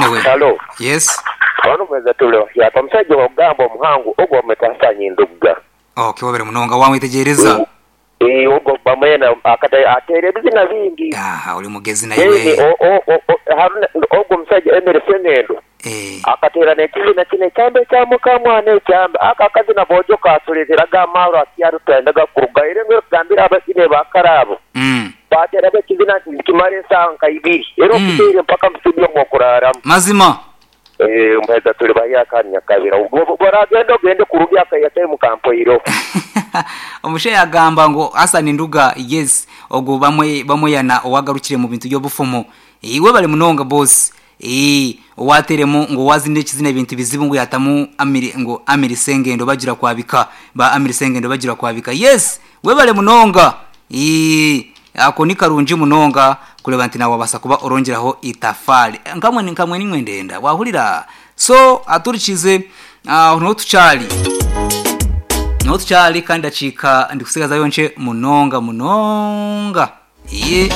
Anyway. Halo. Yes. Ono mweza tule wahyaka omusaija owokugamba omuhangu ogwo bamweta Hassan Ndugga. Okay webale munonga wamwetegyereza. Eeh ogwo bamwena akata ateera ebizina bingi. Aha oli mugezi Then naiwe. o o o o Haruna ogwo omusaija Emily Sengendo Eeh. akateera n'ekizina kino ekyamba ekya mukamwana ekyamba ako akazina boojo katureeteraga amaarwa akyaro twayendaga kurugayo era engeri okugambira abazini ba kare abo Baateraga ekizina nti nikimara esaawa nka ibiri era okutaire mpaka mu studio mw'okuraaramu. Mazima. Eeh Muheza tuli bahyaka hanu Nyakabira. Bw'oragenda ogende kuruga akaiha time kampoireho. Omushaija yagamba ngu Hassan Nduga yes ogwo bamwe bamweyana owagarukire mu bintu by'obufumu. Eeh webale munonga boss. Eeh owateremu ngu owazinire ekizina ebintu bizibu ngu yatamu Amiri ngu Amiri Sengendo bagira kwabika ba Amiri Sengendo bagira kwabika. Yes Webale munonga. Ii, Ako ni karungi munonga kureeba nti nawe wabaasa kuba orongyeraho itafaari. Nkamwe nkamwe nimwe ndenda. Wahurira? So, aturikize aho niho tukyari. Niho tukyari kandi dakiika ndikutsigazayo nkye munonga munonga. Ii.